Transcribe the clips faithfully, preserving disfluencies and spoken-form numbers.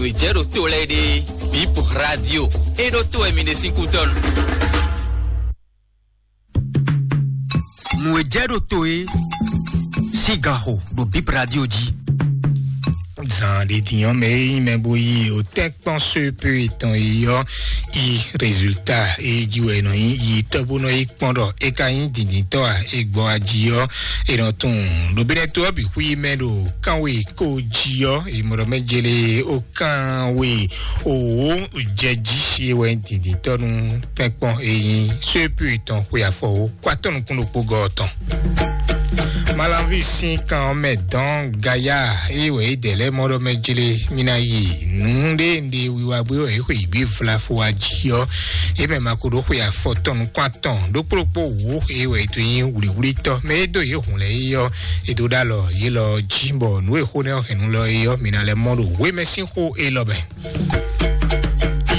Nǔ e jɛ ɖo to lɛ́ɛ ɖe, Bip Radio, é ɖó to wɛ mi ɖe sín kútɔ́nu. Nǔ e jɛ ɖo to é sín ganxo ɖo Bip Radio jí. Zan ɖe din ɔ́ mɛ e nyí mɛ bó yi o tɛ́nkpɔ́n sóépé tɔn e ɔ́ yi résultat e jí wɛ è nɔ nyí yi tɔ́ bó nɔ yi kpɔ́n ɖɔ é ka nyí dǐndíntɔ́ a, e gbɔ ají ɔ́, è nɔ tunwun ɖo bínɛ́ to ɔ́ bǐ xwí mɛ ɖo kánwe kó jí ɔ́, è mɔ ɖɔ mɛ jele ó kánwe òwò jɛ jí é wɛ dǐndíntɔ́ nú tɛ́nkpɔ́n e nyí sóépé tɔn xwe afɔwó kó atɔ́ nukún ɖokpó gɔ́ ɔ́ tɔn. Malanvi sín kan ɔ́ mɛ dɔn gaya, eye wɛ é dɛ lɛ́ɛ mɔ ɖɔ mɛ jlé mí ná yi nǔ ɖé ɖe wiwa gbé wɛ é xwe yi gbé vlafo wá jí ɔ́, é mɛ ma ko ɖó xwe afɔtɔn nukún atɔn ɖó kplókpó wǔ, eye wɛ é to nyí wlǐwlítɔ́ mɛ é dó yě hǔn lɛ́ɛ é ɔ́, é dó ɖó alɔ yě lɔ jí bɔ nǔ e xó nɛ́ ɔ́ hɛn nú lɔ é ɔ́, mi ná lɛ́ mɔ ɖo wémɛ sín xó élɔ́ mɛ.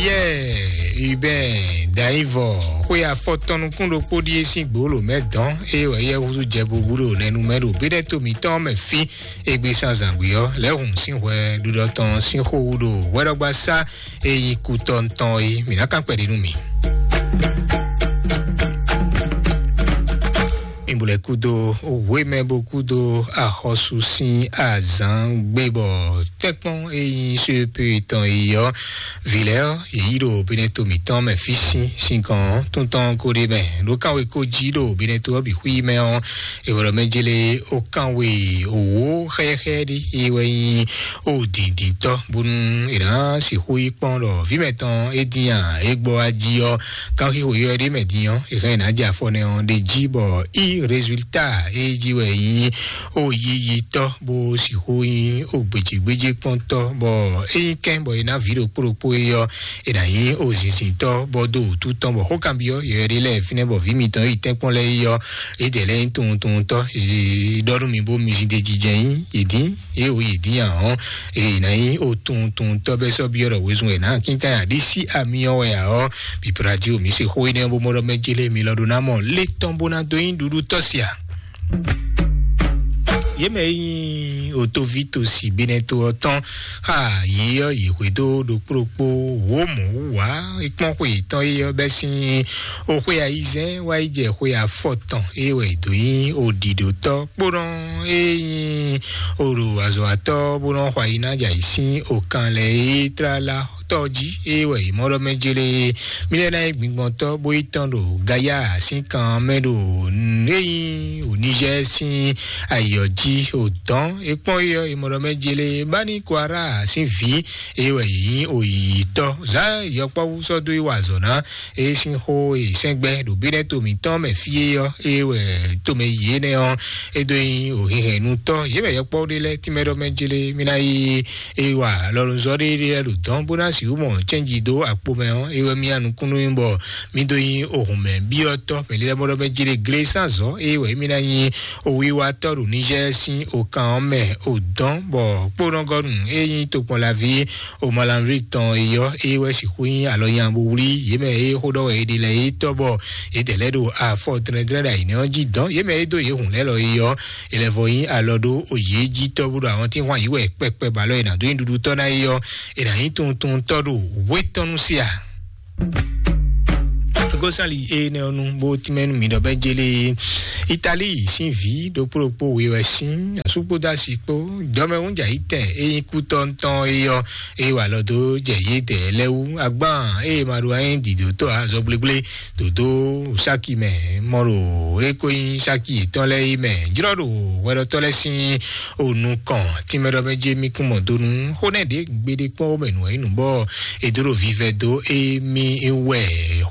Yɛ Hubert Daivɔ xwe afɔtɔn nukún ɖokpó ɖíe sín gbǒlǒ mɛ dɔn, eye wɛ yɛ húzú jɛ bubu ɖo nɛnu mɛ ɖo bínɛ́ to mǐtɔn mɛ fí. Égbé sín azǎngbe ɔ́, lɛ̌hǔn sín hwɛ ɖuɖɔ tɔn sín xó wú ɖo hwɛɖɔgbasá e nyí kú tɔn tɔn é, mǐ ná kán kpɛɖé nú mi. Mi bu lɛ kúdo hwemɛ bó kúdo axɔ́sú sín azǎn gbé bɔ tɛ́nkpɔ́n e nyí sóépé tɔn e ɔ́, vǐ lɛ́ɛ ɔ́, yě yí ɖo Beneto mǐtɔn mɛ fí sín sinkɔn ɔ́, tún tɔn ko ɖ'é mɛ. Ɖó kánwe ko jí ɖo Beneto ɔ́ bǐ xwí mɛ ɔ́, è wɔ ɖɔ mɛ jélé ó kánwe òwò xɛ́xɛ́ ɖé, é wɛ nyí ó dǐndíntɔ́, bónú è nǎ sixú yi kpɔ́n ɖɔ vǐ mɛtɔn é dín a, é gbɔ wá jí ɔ́, kanxixo yɔ ɖé mɛ din ɔ́, è hɛn ná jɛ afɔ nɛ ɔ́ ɖe jí bɔ í résultat é jí wɛ nyí ó yiyitɔ́, bó sixú nyí ó gbějégbéjé kpɔ́ntɔ́, bɔ é nyí kɛ́n bɔ è nǎ vǐ ɖokpó ɖokpó é ɔ́, è nǎ nyí ó zinzintɔ́, bɔ dó wǔtu tɔn bɔ xó kanbyɔ́ yɔ ɖé lɛ́ɛ fínɛ́ bɔ vǐ mitɔn é yi tɛ́nkpɔ́n lɛ́ɛ é ɔ́, é dɛ lɛ́ɛ nyí tunwuntunwuntɔ́, é ɖɔ nú mi bó mi zin ɖe jijɛ nyí yě dín. Ye o yi din ahɔn, eye na yi o tun tun tɔ bɛ sɔ biɔ ɖɔ wezun wɛ na kinkan ya ɖi si ami ɔ wɛ ahɔ. Bibla ji o mi se xo yi ne bo mɔ ɖɔ mɛ jele mi lɔ ɖo na mɔ le tɔn bo na do yin ɖuɖu tɔ sia. Ye mɛ yi nyi o tovi to si bene to ɔ tɔn xa yi ɔ yi hwe do ɖokpo ɖokpo wo mɔ wu wa ekpɔn xwe tɔn yi ɔ bɛ sin o xwe ayizɛn wa yi jɛ xwe afɔ tɔn eye wɛ do yin o ɖiɖo tɔ kpónɔ e nyi o ɖo azɔ̌watɔ́ bó nɔ xɔ ayi ná jɛ ayǐ sín okan lɛ e tlala tɔ́ jí, é wɛ è mɔ ɖɔ mɛ jélé. Mí lɛ́ ná nyí gbigbɔntɔ́ bó yi tɔn ɖo Gaya sín kan mɛ ɖo nǔ e nyí o Nizɛ́ɛ sín ayǐ ɔ́ jí o dɔn. É kpɔ́n é ɔ́, è mɔ ɖɔ mɛ jélé Bani Kwara sín vǐ, é wɛ è nyí o yǐyítɔ́. Zǎn yɔkpɔ́vú sɔ́ dó yi wa azɔ̌ ná. É sín xó e sɛ́ngbɛ́ ɖo bínɛ́ to mǐtɔn mɛ fí é ɔ́, é wɛ tomɛ yi énɛ́ ɔ́, é dó nyi òhihɛnnutɔ́. Yě mɛ yɔkpɔ́ ɖé lɛ́ɛ tínmɛ ɖɔ mɛ jlé mí ná yi é wa lɔlunzɔ́ ɖé lɛ́ɛ ɖo dɔn bó ná sixú mɔ cɛ́nji dó akpo mɛ ɔ́, é wɛ mí ya nukúnnú bɔ mí dó nyi ohun mɛ byɔ́tɔ́ mɛ lɛ́ɛ mɔ ɖɔ mɛ jlé glé sín azɔ̌, é wɛ mí ná nyi owiwatɔ́ ɖo Nizɛ́ɛ sín okan ɔ́ mɛ o dɔn bɔ kpónɔgɔ́nu é nyí tokpɔnlaví o malanvlí tɔn e yɔ, é wɛ sixú nyí alɔ nya bo wlí yě mɛ e xó ɖɔ wɛ è ɖe lɛ́ɛ é tɔ́ bɔ yě dɛ lɛ́ ɖo afɔ dlɛ́ndlɛ́n ɖo ayǐnɛ́ ɔ́ jí dɔn. Yě mɛ e dó yě hǔn lɛ́ lɔ é yɔ, è lɛ́ vɔ nyí alɔ ɖó o yě jí tɔ́ bó ɖo àwọn tí hwan yǐ wɛ kpɛkpɛ ba lɔ è nǎ dó nyi ɖuɖu tɔ́ ná é yɔ, è nǎ nyí tunwun tunwun tɔ́ ɖo wé tɔn nú sí a. Gosali énɛ́ ɔ́ nu bó tínmɛ nú mi ɖɔ bɛ́ jélé Itali sín vǐ ɖokpó ɖokpó we wɛ sín asúkpódó asi kpó dɔmɛhúnjà yítɛn e nyí kútɔ́ntɔn é ɔ́, é wa lɔ dó jɛ yědɛɛ lɛ́ɛ wú. Agbán ée ma ɖo anyí dǐdótɔ́ azɔgblégblé dǒdó sáki mɛ mɔ ɖo é ko nyí sáki yětɔn lɛ́ɛ é mɛ jlɔ́ ɖo hwɛɖɔtɔ́ lɛ́ɛ sín o nukɔn tínmɛ ɖɔ mɛ jé mí kún mɔ dó nú xó nɛ́ ɖě gbeɖé kpɔ́n wó mɛ nǔ wɛ nyí nǔ bɔ è dó ɖo vivɛ dó émí wɛ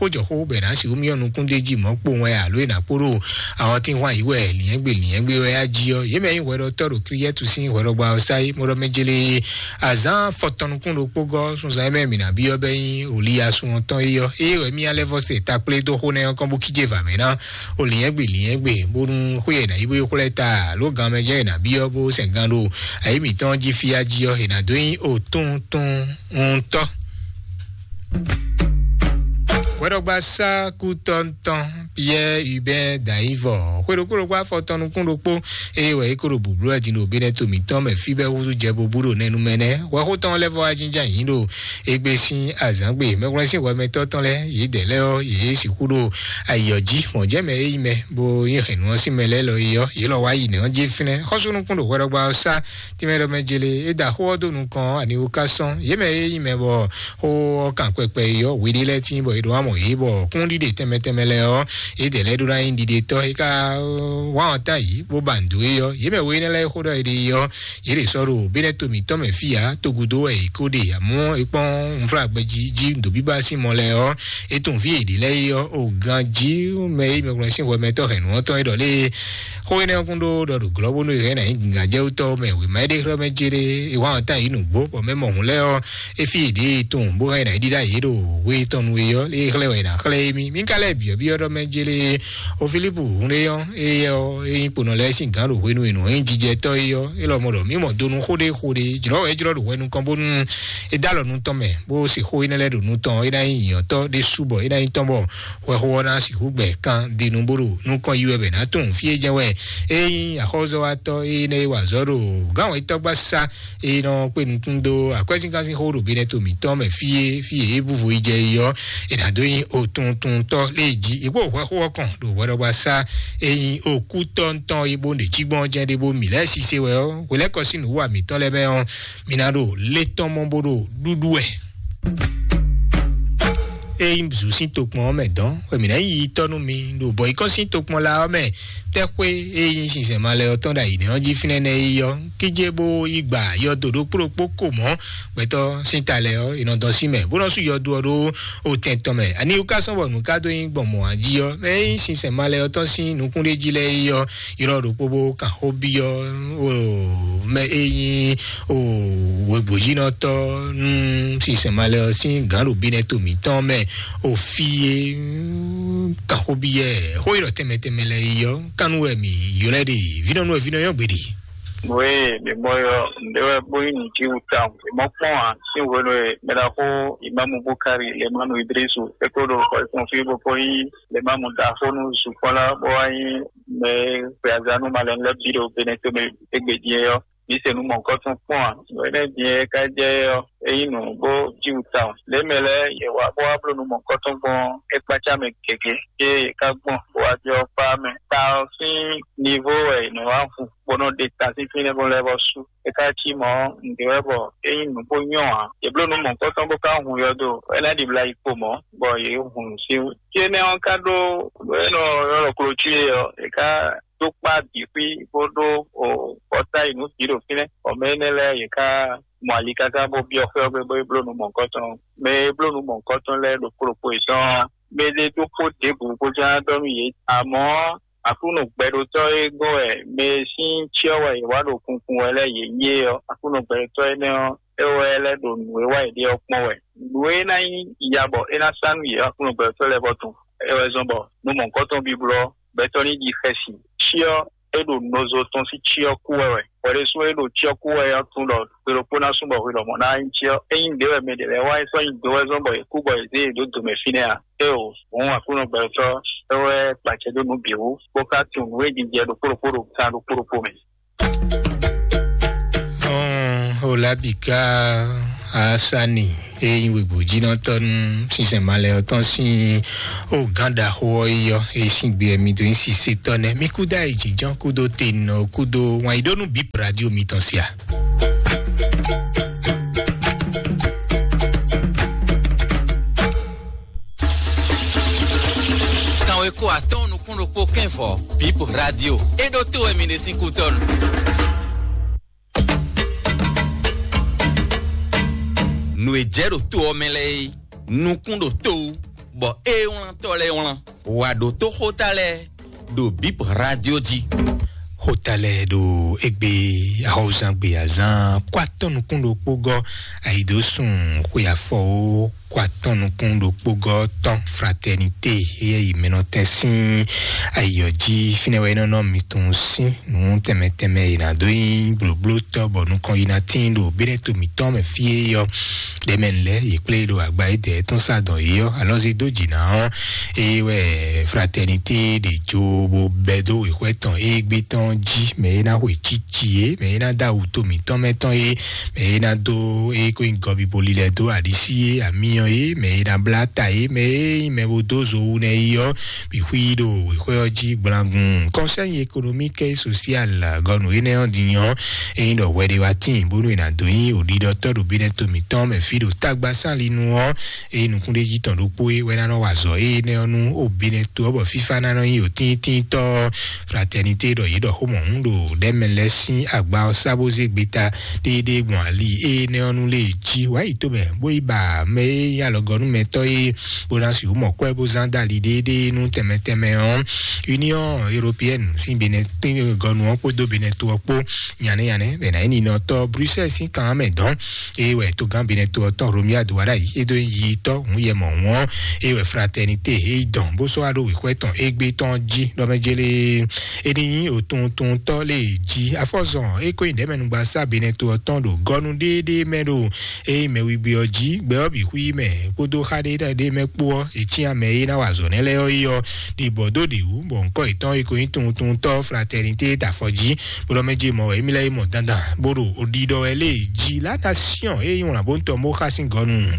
xójɔxó bɛ ná sixú myɔ nukún ɖé jí mɔ̌ kpowun wɛ alo è nǎ kpó ɖo àwọn tí hwan yǐ wɛ lǐnyɛ́gbe lǐnyɛ́gbe wɛ á jí ɔ́, yě mɛ nyí hwɛɖɔtɔ́ ɖo Kliyɛ́tu sín hwɛɖɔgbá ɔ́ sá é. Mɔ ɖɔ mɛ jélé azǎn fɔtɔn nukún ɖokpó gɔ́ sunzan e mɛ mǐ ná byɔ́ bɛ́ nyí Oliyasún ɔ́ tɔn é ɔ́, ée wɛ mí alɛ́ vɔ se takplé dó xó nɛ́ ɔ́ kɔn bó kíjé vǎ mɛ ná o lǐnyɛ́gbe lǐnyɛ́gbe bónú xwé e nǎ yí bó yi xwlɛ́ ta alo gan mɛ jɛ́n è nǎ byɔ́ bó sɛn gan ɖo ayǐ mǐtɔn jí fí á jí ɔ́, è nǎ dó nyí o tunwun tunwun ŋutɔ́. Tɔgba sá kú tɔntɔn Pierre Hubert Daivɔ xwe ɖokpó ɖokpó afɔ tɔn nukún ɖokpó, eye wɛ é ko ɖo bǔblú wɛ din ɖo Benɛto mǐtɔn mɛ fí bɛ́ húzú jɛ bobú ɖo nɛnu mɛ nɛ́. Hwɛxó tɔn lɛ́ vɔ wá jínjɔ́n ayǐ ɖo égbé sín azǎngbe. Mɛhwlɛ́n sín hwɛmɛtɔ́ tɔn lɛ́ɛ, yě dɛ̌ lɛ́ɛ ɔ́, yě sixú ɖo ayǐ ɔ́ jí. Mɔ̌ jɛ mɛ e nyí mɛ bó nyí hɛ̌nnu ɔ́ sín mɛ lɛ́ɛ lɔ é ɔ́, yě lɔ wá yi nɛ̌ ɔ́ jí fínɛ́. Xɔ́súnukún ɖo hwɛɖɔgba ɔ́ sá tínmɛ ɖɔ mɛ jele é da xó ɔ́ dó nukɔn ɔ́, ani wú ká sɔ́n. Yě mɛ e nyí mɛ bɔ xó ɔ́ kan kpɛkpɛ é ɔ́, hweɖé lɛ́ɛ tíin bɔ è ɖo amɔ yě bɔ kúnɖiɖe tɛnmɛ tɛnmɛ lɛ́ɛ ɔ́, yě dɛ̌ lɛ́ɛ ɖó ná nyí ɖiɖetɔ́. É ka wá ɔ́ tán yǐ bó ba nǔ dó é ɔ́, yě mɛ we énɛ́ lɛ́ɛ e xó ɖɔ è ɖe é ɔ́, yě ɖě sɔ́ ɖo Benɛto mǐtɔn mɛ fí ǎ, togudo wɛ è ko ɖe, amɔ̌ è kpɔ́n unflágbɛjí jí ɖo bíbá sín mɔ lɛ́ɛ ɔ́, é tunwun fí è ɖě lɛ́ɛ é ɔ́, o ganjí mɛ e mɛkplɔ́n sín hwɛmɛtɔ́ hɛ̌nnu ɔ́ tɔn é ɖɔ lé xó énɛ́ ɔ́ kún ɖó ɖɔ ɖo glɔ́ bónú è hɛn ná nyí gǐngán jɛ wú tɔ́ mɛ wěma é ɖe xlɛ́ mɛ jéré é wá ɔ́ tán yǐ nǔgbó, bɔ mɛ mɔ hǔn lɛ́ɛ ɔ́, é fí è ɖě e tunwun bó hɛn ná ɖíɖá yě ɖo hwe tɔn nu é ɔ́, é xlɛ́ wɛ è nǎ xlɛ́ émí. Mí ka lɛ́ byɔ̌byɔ́ ɖɔ mɛ jéré o Filipu hun ɖé ɔ́, éyɛ́ ɔ́, é nyí kponɔ lɛ́ɛ sín gǎn ɖo hwenu e nǔ nyí jijɛtɔ́ é ɔ́, é lɔmɔ̌ ɖɔ mí mɔ donu xó ɖé xó ɖé, jlɔ̌ wɛ é jlɔ́ ɖo hwɛ nukɔn bónú é dó alɔ nu tɔn mɛ, bó se xó énɛ́ lɛ́ɛ ɖo nu tɔn, é ná nyí nyǐnyɔ́tɔ́ ɖésú bɔ é ná nyí tɔn bɔ hwɛxó ɔ́ ná sixú gbɛ kan dinu bó ɖo nukɔn yi wɛ bɛ ná tunwun fí é jɛ́n wɛ é nyí axɔ́zɔ́watɔ́ énɛ́ e wa azɔ̌ ɖo gǎn wɛ tɔ́gbá sá é nɔ kpé nukún dó akwɛ́zínkánsín xó ɖo Benɛto mǐtɔn mɛ fí é, fí é búvo yi jɛ yi ɔ́, è nǎ dó nyí otuntuntɔ́ lé jí. È kpó hwɛxó ɔ́ kɔn ɖo hwɛɖɔgba sá é nyí okútɔ́ntɔ́ e bó ɖe jí gbɔn jɛ́n ɖé bó mǐ lɛ́ɛ sise wɛ ɔ́, hwelɛ́kɔ sín nǔwiwa mǐtɔn lɛ́ɛ mɛ ɔ́, mǐ ná ɖo lé tɔn mɔ bó ɖo ɖúɖú wɛ. Ényí zǔ sín tokpɔn ɔ́ mɛ dɔn, wɛ mǐ ná yi tɔ́ nú mi ɖo bɔ̌yikɔ́ sín tokpɔn la ɔ́ mɛ. Tɛ́xwé e nyí sinsɛn malɛ ɔ́ tɔn ɖo ayǐ nɛ́ ɔ́ jí fínɛ́ nɛ́ é yí ɔ́, kíjé bó yí gba yɔdo ɖokpó ɖokpó ko mɔ̌ gbɛtɔ́ sín ta lɛ́ɛ ɔ́, è nɔ dɔn sín mɛ, bó nɔ sú yɔdo ɔ́ ɖó otɛn tɔn mɛ. Ani wú ká sɔ́ bɔ nǔ ká dó nyí gbɔn mɔ̌ ǎ jí ɔ́, mɛ e nyí sinsɛn malɛ ɔ́ tɔn sín nukúnɖéjí lɛ́ɛ é yí ɔ́, ylɔ́ ɖokpó bó kan xó byɔ́ o mɛ e nyí o wěgbojínɔtɔ́ nú sinsɛn malɛ ɔ́ sín gǎn ɖo bínɛ́ to mǐtɔn mɛ, o fí e kan xó byɔ́ ɛ, xó ylɔ́ tɛnmɛ tɛnmɛ lɛ́ɛ é yí ɔ́, kánú wɛ mǐ ylɔ́ ɛ ɖe, vínɔ́nú wɛ vínɔ nyɔ́ gbeɖe. Nǔ e mǐ mɔ ɔ́, nǔɖé wɛ bó nyí nǔjíwǔ tawun. Mǐ mɔ kpɔ́n ǎ, sín hwenu e mɛɖaxó Imámu Búkari Lemánu Idrísu é kó ɖo xɔ yětɔn fí bó kó nyí Lemámu ɖaxó nú zukpɔ́nlá bó wá nyí mɛ e xwe aza nú malɛnu lɛ́ɛ bǐ ɖo Benɛtomɛ égbé din é ɔ́, mǐ se nǔ mɔ̌hunkɔtɔn kpɔ́n ǎ. Nǔ énɛ́ din e ka jɛ é ɔ́, é nyí nǔ bó jíwǔ tawun. Lě mɛ lɛ́ɛ yě wá bó wá bló nǔ mɔ̌hunkɔtɔn gbɔn ɔ́, é kpácá mɛ gěgé, ée yě ká gbɔn bó wá jɛ ɔ́ kpá mɛ. Ta ɔ́ sín nivo wɛ è nɔ wá hu bó nɔ ɖe ta sín fínɛ́ bó lɛ́ vɔ sú. É ka cí mɔ̌, nǔɖé wɛ bɔ é nyí nǔ bó nyɔ́ ǎ. Yě bló nǔ mɔ̌hunkɔtɔn bó ka hun yɔdo, é ná ɖibla yi kpo mɔ̌, bɔ yě hun nǔ sín wú. Fí énɛ́ ɔ́ ka ɖó nǔ e nɔ ylɔ́ ɖɔ klocíwe ɔ́, è ka dó kpá bǐ xwí bó ɖó o kɔta yi nǔ bǐ ɖo fínɛ́. Bɔ mɛ énɛ́ lɛ́ɛ yě ka mɔ ali káká bó byɔ́ xwé ɔ́ gbe bó yi bló nǔ mɔ̌hunkɔtɔn. Mɛ e bló nǔ mɔ̌hunkɔtɔn lɛ́ɛ ɖokpó ɖokpó yětɔn ɔ́, mɛ ɖé ɖokpó ɖěbǔ bó ján ɖɔ nú yě. Amɔ̌, Aklúnɔ gbɛɖotɔ́ e gɔ́n wɛ mɛ e sín cyɔ wɛ yě wá ɖo kunkun wɛ lɛ́ɛ yě nyí é ɔ́, Aklúnɔ gbɛɖotɔ́ énɛ́ ɔ́, é wɛ lɛ́ ɖo nǔ e wa yě ɖe ɔ́ kpɔ́n wɛ. Nǔ e ná nyí ya bɔ é ná sá nú yě ɔ́, Aklúnɔ gbɛɖotɔ́ lɛ́ɛ vɔ tunwun. É wɛ zɔ́n bɔ nú mɔ̌hunkɔtɔn bíblɔ́ gbɛtɔ́ ní ɖi xɛsi. Cyɔ e ɖo nɔzo tɔn sín cyɔ kú wɛ wɛ. Hwɛ ɖésú e ɖo cyɔ kú wɛ ɔ́ tunwun ɖɔ gbe ɖokpó ná sú bɔ hwi lɔmɔ̌ ná nyí cyɔ. Ényí nǔɖé wɛ mɛ ɖě lɛ́ɛ wa é sɔ́ nyi do wɛ zɔ́n bɔ yě kú bɔ yě zé yě dó do mɛ fínɛ́ ǎ. Éeǒ, hǔn Aklúnɔ gbɛtɔ́ é wɛ kpa acɛ dó nǔ bǐ wú, bó ka tunwun nǔ e jijɛ ɖokpó ɖokpó ɖo gan ɖokpó ɖokpó mɛ. Hɔn Olabika Asani e nyí wěgbójínɔtɔ́ nú sinsɛn malɛ ɔ́ tɔn sín o gǎn ɖaxó ɔ́ yi ɔ́, e sín gbe mi dó nyí sisetɔ́ nɛ́. Mi kúdó ayǐjínjɔ́n kúdó tenɔ kúdó wǎn yí ɖó nú bǐ radio mitɔn sia. Kanwe ko atɔ́ɔ́n nukún ɖokpó kɛ́n vɔ̌, Bip Radio. É ɖó tó wɛ mi ɖe sín kútɔ́nu. Nǔ e jɛ ɖo to ɔ́ mɛ lɛ́ɛ é, nukún ɖo to wú, bɔ é wlántɔ́ lɛ́ɛ wlán. Wǎ ɖótó xóta lɛ́ɛ ɖo Bip Radio jí. Xota lɛ́ɛ ɖo égbé ahɔwuzangbe azán kó atɔ́ nukún ɖokpó gɔ́ ayidosùn xwe afɔwó kó atɔ́ nukún ɖokpó gɔ́ tɔn Fraternité éyɛ́ yi mɛnɔtɛn sín ayiyɔ jí. Fínɛ́ wɛ é nɔ nɔ mi tunwun sín nǔ tɛnmɛ tɛnmɛ e nǎ dó nyí blǒblótɔ́ bɔ nukɔn yi ná tíin ɖo béɖɛ́ to mǐtɔn mɛ fí é yɔ ɖɛmɛ lɛ́ yě kplé ɖo agba édɛɛ tɔn sá dɔn yě ɔ́ alɔ́ zé dó jǐ ná ɔ́. Eye wɛ Fraternité ɖe jo bó bɛ́ dó wěxwɛ́ tɔn égbé tɔn jí, mɛ e ná xwe cíci é, mɛ e ná dó awu to mǐtɔn mɛ tɔn é, mɛ e ná dó é kó nyí gɔbiboli lɛ́ dó aɖisí é, amiyɔn é, mɛ e ná blá ta é, mɛ e nyí mɛ bó dó zo wú nɛ é ɔ́, bǐ xwí ɖo wěxwɛ́ ɔ́ jí gblangun. Conseil économique et social gɔnu énɛ́ ɔ́ din ɔ́, é nyí ɖɔ hwɛ ɖé wá tíin bónú è nǎ dó nyí òɖiɖɔtɔ́ ɖo bínɛ́ to mǐtɔn mɛ fí ɖo tágbasánlinu ɔ́, eye nukúnɖéjí tɔn ɖokpó é wɛ ná nɔ wa azɔ̌ énɛ́ ɔ́ nú o bínɛ́ to ɔ́, bɔ fífá ná nɔ nyí òtíntíntɔ́. Fraternité ɖɔ yě ɖɔ xó mɔ̌hun ɖo ɖɛ̌mɛ lɛ́ɛ sín agba ɔ́ sá bó zé gbeta ɖéeɖée gbɔn ali énɛ́ ɔ́ nú lě jí wǎ yi tomɛ, bó yi ba mɛ e nyí alɔgɔnúmɛtɔ́ é, bó ná sixú mɔ kwɛ́ bó zán dó ali ɖéeɖée nú tɛnmɛ tɛnmɛ ɔ́. Union Européenne sín Benin gɔnu ɔ́ kpódó Benin to ɔ́ kpó nyanɛ́ nyanɛ́ bɛ ná nyí ninɔtɔ́ Bruxelles sín kan ɔ́ mɛ dɔn. Eye wɛ togán Benin to ɔ́ tɔn Romuald Wadagni é dó yi tɔ́ hǔn yɛ mɔ̌ wɔn. Eye wɛ Fraternité é yi dɔn bó sɔ́ wá ɖó wěxwɛ́ tɔn égbé tɔn jí ɖɔ mɛ jélé é ní nyí òtuntuntɔ́ lé jí. Afɔzɔn é kó nyi ɖɛ̌mɛnugba sá Benin to ɔ́ tɔn ɖo gɔnu ɖéeɖée mɛ ɖo eye mɛ wigbe ɔ́ jí gbɛ ɔ́ bǐ xwí mɛ kpódó xá ɖé ɖé mɛ kpó ɔ́, è cyán mɛ e ná wa azɔ̌ nɛ́ lɛ́ɛ ɔ́ yi ɔ́ ɖi bɔ dó ɖě wú, bɔ ŋkɔ́ yětɔn e ko nyí tuntuntɔ́ Fraternité ta afɔ jí, bó ɖɔ mɛ jí mɔ wɛ émí lɛ́ɛ yi mɔ dandan bó ɖo oɖiɖɔ wɛ lé jí. La Nation e nyí wlǎn bó tɔn bó xá sín gɔnu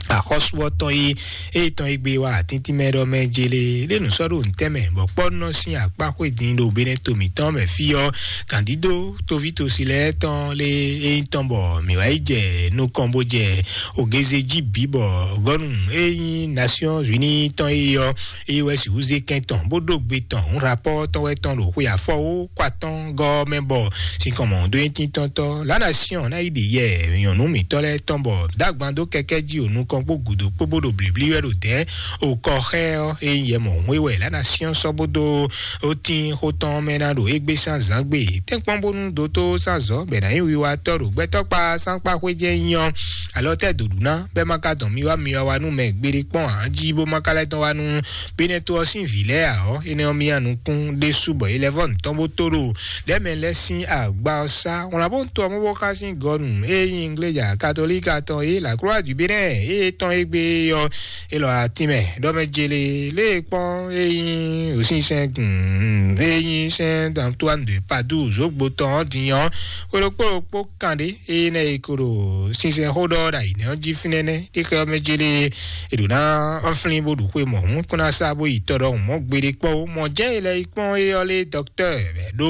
axɔ́sú ɔ́ tɔn yi eye tɔn e gbé wa atíntín mɛ ɖɔ mɛ jélé lé nǔ sɔ́ ɖo ntɛ́ mɛ, bɔ kpɔ́nɔ sín akpá xwé din ɖo Benin to mǐtɔn mɛ fí ɔ́, gǎndídó toví tosi lɛ́ɛ tɔn lé e nyí tɔn bɔ mǐ wá yi jɛ nukɔn bó jɛ ògézé jí bǐ bɔ gɔnu e nyí Nations Unies tɔn e ɔ́, eye wɛ sixú zé kɛn tɔn bó ɖó gbe tɔn hǔn rapɔ́ tɔn wɛ tɔn ɖo xwe afɔwó kó atɔ́ gɔ́ mɛ bɔ sinkɔn mɔ̌ dó nyí tíntɔ́ntɔ́. La Nation ná yi ɖi yɛ nyɔ̌nu mǐtɔn lɛ́ɛ tɔn bɔ dó agban dó kɛkɛ́ jí o nukɔn kpó gǔdo kpó bó ɖo blǐblí wɛ ɖo dɛ̌ o kɔ xɛ ɔ́, e nyí yɛ mɔ̌hun e wɛ La Nation sɔ́ bó dó ó tín xó tɔn mɛ ná ɖo égbé sín azǎn gbe. Tɛ́nkpɔ́n bónú dótó sín azɔ̌ bɛ ná nyí wiwatɔ́ ɖo gbɛtɔ́kpa sín akpá xwé jɛ́n nyí ɔ́, alɔ tɛ́ dǒɖú ná bɛ́ má ka dɔn mi wá mi wá wá nú mɛ gbeɖé kpɔ́n ǎ jí bó má ka lɛ́ dɔn wá nú Benin to ɔ́ sín vǐ lɛ́ɛ ǎ ɔ́, énɛ́ ɔ́ mì nyi nukún ɖésú bɔ é lɛ́ vɔ́ nǔ tɔn bó tó ɖo lɛ̌mɛ lɛ́ɛ sín agba ɔ́ sá. Wlǎn bó to ɔ́ mɔ bó xá sín gɔnu e nyí Ingleja Katolíka tɔn e la Croix du Bénin e tɔn égbé ɔ́, é lɔ atín mɛ ɖɔ mɛ jélé lé kpɔ́n e nyí òsínsɛ́n e nyí Saint Antoine de Padoue zǒgbo tɔn ɔ́ din ɔ́, xwé ɖokpó ɖokpó kanɖé eye nɛ e ko ɖo sinsɛnxó ɖɔ ɖo ayǐnɛ́ ɔ́ jí fínɛ́nɛ́. Tixɛ ɔ́ mɛ jélé è ɖǒ ná ɔ́ flín bó ɖu xwe mɔ̌hun kó ná sá bó yi tɔ ɖɔhun mɔ̌ gbeɖé kpɔ́n ó. Mɔ̌ jɛ́n è lɛ́ yi kpɔ́n é ɔ́ lé dɔktɛ́ wɛ ɖó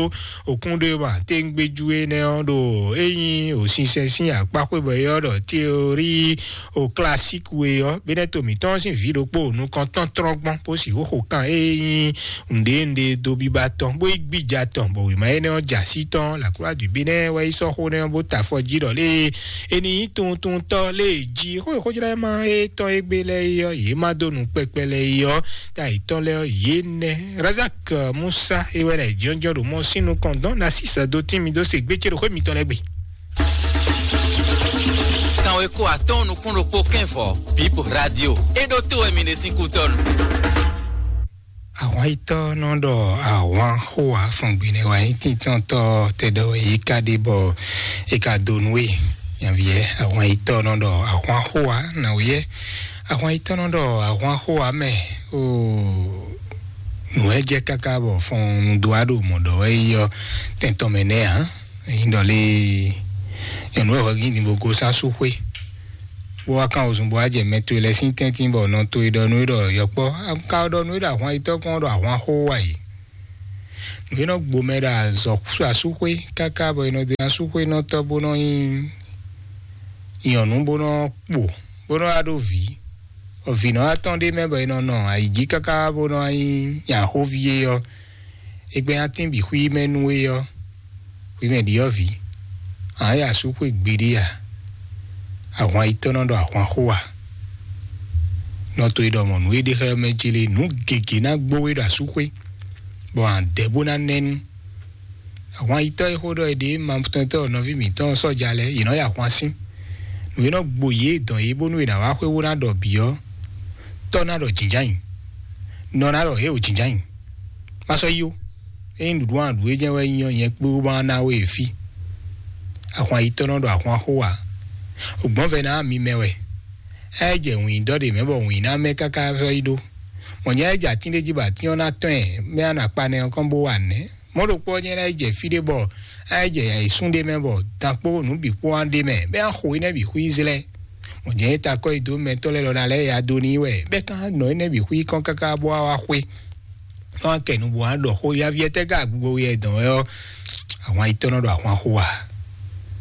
òkúnɖéwúmátɛ́ngbéjú énɛ́ ɔ́ ɖo é nyí òsinsɛn sín akpá xwé bɔ é ɔ́ ɖɔ teorí o klasík we ɔ́, bínɛ́ to mǐtɔn sín vǐ ɖokpó nukɔntɔn tlɔ́n gbɔn bó sixú xo kan é nyí nǔɖé nǔɖé dó biba tɔn bó yi gbija tɔn bɔ wěma énɛ́ ɔ́ jɛ así tɔn. Lǎkúlá dǔbínɛ́ wɛ yi sɔ́ xó nɛ́ ɔ́ bó ta afɔ jí ɖɔ lé é ní nyí tuntuntɔ́ lé jí xó e xójlɛ́ma étɔn égbé lɛ́ɛ é ɔ́, yě má dó nǔ kpɛkpɛ lɛ́ɛ é ɔ́, ta yětɔn lɛ́ɛ ɔ́, yě nɛ́. Razak Musa é wɛ nɛ jɔnjɔn ɖo mɔ sín nukɔn dɔn ná sísɛ dó tín mi dó se gbé ce ɖo xwé mitɔn lɛ́ɛ gbe. Kanweko atɔ́ɔ́n nukún ɖokpó kɛ́nvɔ Bip Radio. É ɖó tó wɛ mi ɖe sín kútɔ́nu. Ahwan yitɔ́ nɔ ɖɔ ahwan xó wá fɔn gbe nɛ wá nyí tíntɔ́ntɔ́ tɛ ɖɔ wɛ yí ká ɖe bɔ é ka dó nú we. Nyaviɛ ahwan yitɔ́ nɔ ɖɔ ahwan xó wá nà wúyɛ. Ahwan yitɔ́ nɔ ɖɔ ahwan xó wá mɛ o. Nǔ wɛ jɛ káká bɔ fɔn nu dó wá ɖo mɔ̌ ɖɔ wɛ yi ɔ́ tɛntɔn mɛ nɛ ǎ. Nyí ɖɔ lé nyɔ̌nu wɛ hwɛ gín din bó gosán sú xwé, bó wá kán wozun bó wá jɛ mɛ towe lɛ́ɛ sín tɛ́ntin bɔ nɔ towe ɖɔ nú é ɖɔ yɔkpɔ́, ka ɖɔ nú é ɖɔ ahwan yitɔ́ kpɔ́n ɖɔ ahwan xó wá yi. Nǔ e nɔ gbo mɛ ɖo azɔ̌ asúxwé káká bɔ è nɔ dó asúxwé nɔ tɔ́ bó nɔ nyí nyɔ̌nu bó nɔ kpo bó nɔ wá ɖó vǐ. Vǐ nɔ wá tɔn ɖé mɛ bɔ è nɔ nɔ ayǐjí káká bó nɔ wá nyí nyaxóví é ɔ́, é gbɛ́ atín bǐ xwí mɛ nú é ɔ́, xwí mɛ ɖiɔ́vǐ, ǎ ya sú xwé gbeɖé a? Ahwan yitɔ́ nɔ ɖɔ ahwan xó a? Nɔ to e ɖɔ mɔ̌ nú é ɖe xlɛ́ mɛ jélé nǔ gěgé ná gbó we ɖo asúxwé, bɔ ǎ dɛ bó ná nɛ́ nú. Ahwan yitɔ́ e xó ɖɔ è ɖe ma tɔntɔ́ nɔví mǐtɔn sɔ́ja lɛ́ɛ, yě nɔ yi ahwan sín. Nǔ e nɔ gbo yě dɔn yě bónú è nǎ wá xwé wó ná ɖɔ bǐ ɔ́, tɔ́ ná ɖɔ jǐnján nyi, nɔ ná ɖɔ hě o jǐnján nyi. Má sɔ́ yi ó. Ényí nǔɖuɖu aɖǔ e jɛ́n wɛ nyí ɔ́, nyɛ kpé wú ma ná we e fí. Ahwan yitɔ́ nɔ ɖɔ ahwan xó ǎ. Ògbɔ́nvɛ ná mi mɛ wɛ. É jɛ wǐndɔ́ ɖě mɛ bɔ wǐn ná mɛ káká sɔ́ yi ɖó. Mɔ̌ nyɛ é jɛ atín ɖé jí bɔ atín ɔ́ ná tɔ́n ɛ, mɛ á nɔ akpa nɛ ɔ́ kɔn bó wa nɛ̌? Mɔ̌ ɖokpó ɔ́ nyɛ ná yi jɛ fí ɖé bɔ á yi jɛ ayǐsún ɖé mɛ bɔ dan kpó nǔ bǐ kpó wá ɖé mɛ, bɔ é ná xo énɛ́ bǐ xwí zlɛ́. Mɔ̌ jɛ́n é takɔ́ yi dó mɛtɔ́ lɛ́ɛ lɔ ná lɛ́ ya dó n'i wɛ, bɔ é ka nɔ énɛ́ bǐ xwí kɔn káká bó wá wá xwé. Nɔ wá kɛ nu bó wá ɖɔ xó yaví ɛtɛ́ ka gbogbo yɛ dɔn wɛ ɔ́, ahwan yi tɔ́ nɔ ɖo ahwan xó a?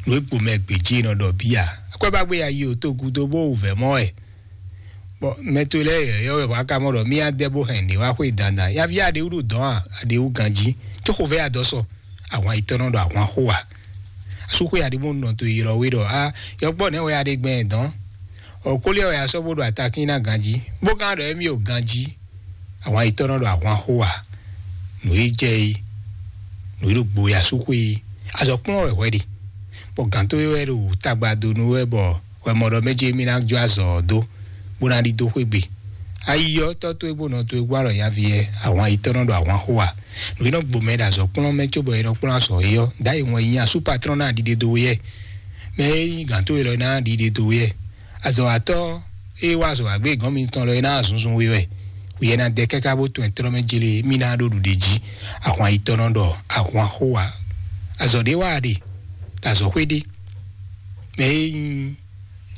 Nǔ e gbo mɛ gbějí e nɔ ɖɔ bíya. Akwɛ́ ba gbé ya yi o tó gúdo bó wǔ vɛ̌ mɔ wɛ. Bɔ mɛ towe lɛ́ɛ yɔ̌yɔ́ wɛ wǎ ka mɔ ɖɔ mì adɛ bó hɛn nǔ wá xwé dandan. Yaví aɖewú ɖo dɔ̌n a, aɖewú ganjí, có xovɛ́ adɔ sɔ, ahwan yitɔ́ nɔ ɖo ahwan xo a? Asúxwé aɖe bó nɔ to ylɔ́ we ɖɔ a, yɔkpɔ́ nɛ̌ wɛ aɖe gbɛn dɔ̌n? Ɔkóliɛ wɛ asɔ́ bó ɖo atakín ná ganjí, bó gán ɖɔ émí o ganjí, ahwan yitɔ́ nɔ ɖo ahwan xo a? Nǔ e jɛ é, nǔ e ɖo gbo e asúxwé é, azɔ̌ kplɔ́n wɛ hwɛ ɖe, bɔ gǎn towe wɛ ɖo tagba dó nú wɛ bɔ hwɛmɔɖɔ mɛ ce mì ná jó azɔ̌ ɔ́ dó, bó ná ɖidó xwé gbe. Ayi ɔ́, tɔ́ towe bó nɔ towe gbɔn alɔ nyaví ɛ, ahwan yitɔ́ nɔ ɖo ahwan xo a? Nǔ e nɔ gbo mɛ ɖo azɔ̌ kplɔ́n mɛ cóbɔ è nɔ kplɔ́n azɔ̌ é ɔ́, ɖ'ayǐ wɔn yi nyi asú patrɔ́n ná ɖiɖe dó we ɛ. Mɛ e nyí gǎn towe lɔ ná ɖiɖe dó we ɛ. Azɔ̌watɔ́ e wá azɔ̌ wá gbé gɔ̌n mitɔn lɔ é ná zunzun we wɛ. Wǐyɛ ná dɛ káká bó tɔn ɛ tlɔ́ mɛ jlé mì ná ɖo ɖuɖe jí. Ahwan yitɔ́ nɔ ɖɔ ahwan xo a? Azɔ̌ ɖé wá a ɖe, ɖo azɔ̌xwé ɖé. Mɛ e nyí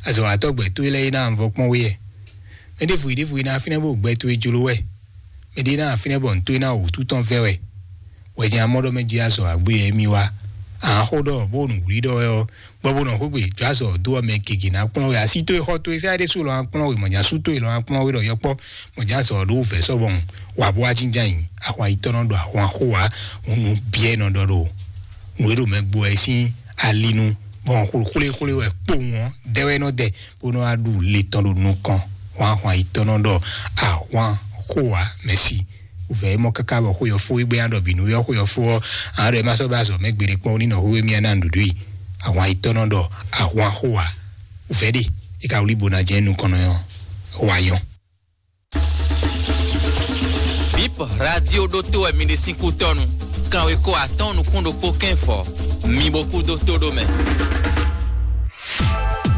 azɔ̌watɔ́ gbɛ towe lɛ́ɛ é ná vɔ kpɔ́n we ɛ. Mɛ ɖěvo yi ɖěvo yi ná fínɛ́ bó gbɛ towe jló wɛ. Mɛ ɖé ná fínɛ́ bɔ nǔ towe ná wǔtu tɔn vɛ́ wɛ. Wɛjɛ amɔ́ ɖɔ mɛ jí azɔ̌ agbé ɛ mì wá. Ahán xó ɖɔ bó nǔ wlí ɖɔ wɛ ɔ́, gbɔ bó nɔ xwé gbe jó azɔ̌ dó ɔ́ mɛ gěgé ná kplɔ́n we. Así towe xɔ towe sɛ́ ɖésú lɔ ná kplɔ́n we, mɔ̌ nya sú towe lɔ ná kplɔ́n we ɖɔ yɔkpɔ́, mɔ̌ nya azɔ̌ ɖó vɛ̌ sɔ́ bɔ wǎ bó wá jínjɔ́n ayǐ. Ahwan yitɔ́ nɔ ɖo ahwan xó wá, hǔn nǔ byɔ́ ɛ nɔ ɖɔ ɖo nǔ e ɖo mɛ gbo wɛ sín ali nu, bɔ xwlexwle wɛ kpowun ɔ́ dɛ wɛ nɔ dɛ, bó nɔ wá ɖu le tɔn ɖo nukɔn. Hwan ahwan yitɔ́ nɔ ɖɔ ahwan xó wá mɛ sí. Vɛ̌ mɔ káká bɔ xwé ɔ́ fó, égbé ná ɖɔ bǐ nú yɔ xwé ɔ́ fó ɔ́, á ɖɔ ɛ má sɔ́ bá azɔ̌ mɛ gbeɖé kpɔ́n ní nɔ xwé mì ná nǔɖuɖu i. Ahwan yitɔ́ nɔ ɖɔ ahwan xó wá. Vɛ̌ ɖe, é ka wlí bó ná jɛ nukɔn nɔ ɔ́, wá nyɔ́. Bip radio ɖótó wɛ mi ɖe sín kútɔ́nu. Kanwekó atɔ́ɔ́n nukún ɖokpó kɛ́n fɔ. Mi bo kú dó tó ɖó mɛ.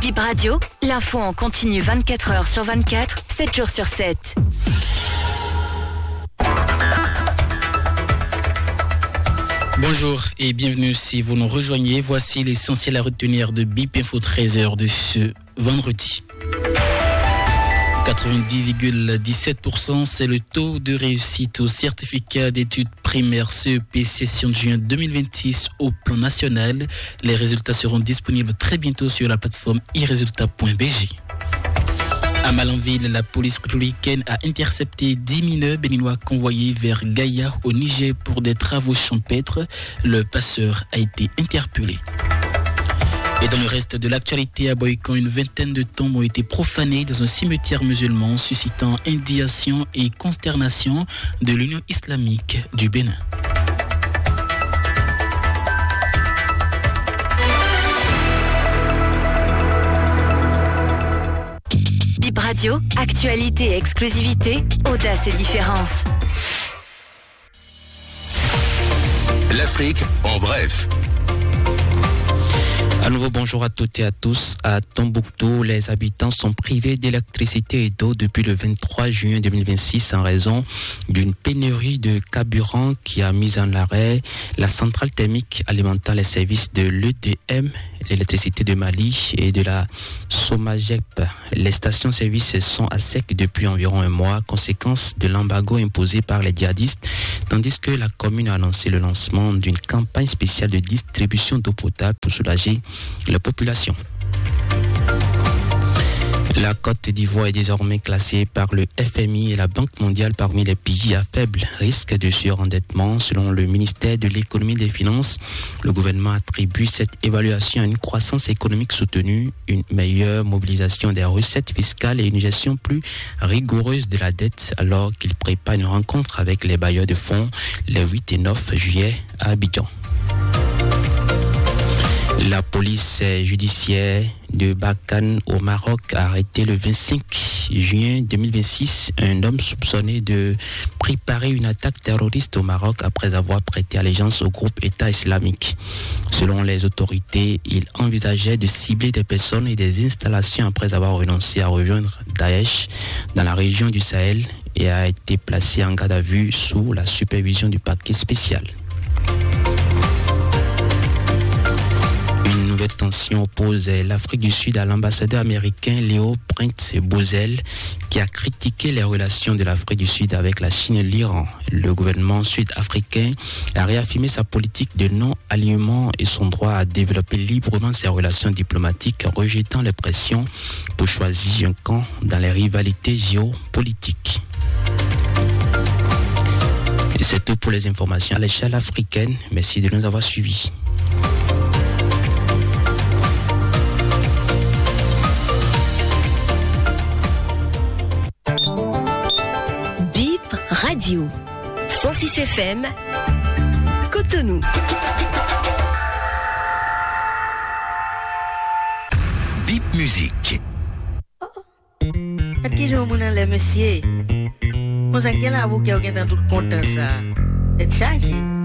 Bip Radio, l'info en continu vingt-quatre heures sur vingt-quatre, sept jours sur sept. Bonjour et bienvenue si vous nous rejoignez. Voici l'essentiel à retenir de Bip Info treize heures de ce vendredi. Quatre-vingt-dix virgule dix-sept pour cent, c'est le taux de réussite au certificat d'études primaires C E P session de juin deux mille vingt-six au plan national. Les résultats seront disponibles très bientôt sur la plateforme e résultats point B G. À Malanville, la police républicaine a intercepté dix mineurs béninois convoyés vers Gaïa au Niger pour des travaux champêtres. Le passeur a été interpellé. Et dans le reste de l'actualité, à Boycon, une vingtaine de tombes ont été profanées dans un cimetière musulman, suscitant indignation et consternation de l'Union islamique du Bénin. Bip Radio, actualité et exclusivité, audace et différence. L'Afrique en bref. À nouveau, bonjour à toutes et à tous. À Tombouctou, les habitants sont privés d'électricité et d'eau depuis le vingt-trois juin deux mille vingt-six en raison d'une pénurie de carburant qui a mis en arrêt la centrale thermique alimentant les services de l'E D M, l'électricité de Mali et de la Somagep. Les stations-service sont à sec depuis environ un mois, conséquence de l'embargo imposé par les djihadistes, tandis que la commune a annoncé le lancement d'une campagne spéciale de distribution d'eau potable pour soulager la population. La Côte d'Ivoire est désormais classée par le F M I et la Banque mondiale parmi les pays à faible risque de surendettement, selon le ministère de l'Économie et des Finances. Le gouvernement attribue cette évaluation à une croissance économique soutenue, une meilleure mobilisation des recettes fiscales et une gestion plus rigoureuse de la dette, alors qu'il prépare une rencontre avec les bailleurs de fonds les huit et neuf juillet à Abidjan. La police euh, judiciaire de Barkhane au Maroc a arrêté le vingt-cinq juin deux mille vingt-six un homme soupçonné de préparer une attaque terroriste au Maroc après avoir prêté allégeance au groupe État islamique. Selon les autorités, il envisageait de cibler des personnes et des installations après avoir renoncé à rejoindre Daesh dans la région du Sahel et a été placé en garde à vue sous la supervision du parquet spécial. Une nouvelle tension oppose l'Afrique du Sud à l'ambassadeur américain Léo Prince Bozel, qui a critiqué les relations de l'Afrique du Sud avec la Chine et l'Iran. Le gouvernement sud-africain a réaffirmé sa politique de non-alignement et son droit à développer librement ses relations diplomatiques, rejetant les pressions pour choisir un camp dans les rivalités géopolitiques. Et c'est tout pour les informations à l'échelle africaine. Merci de nous avoir suivis. Bip Radio, cent six F M, Cotonou. Bip Musique. Aqui João Munalé, monsieur. Mozanquela, vous qui alguém tanto conta essa. É de charge?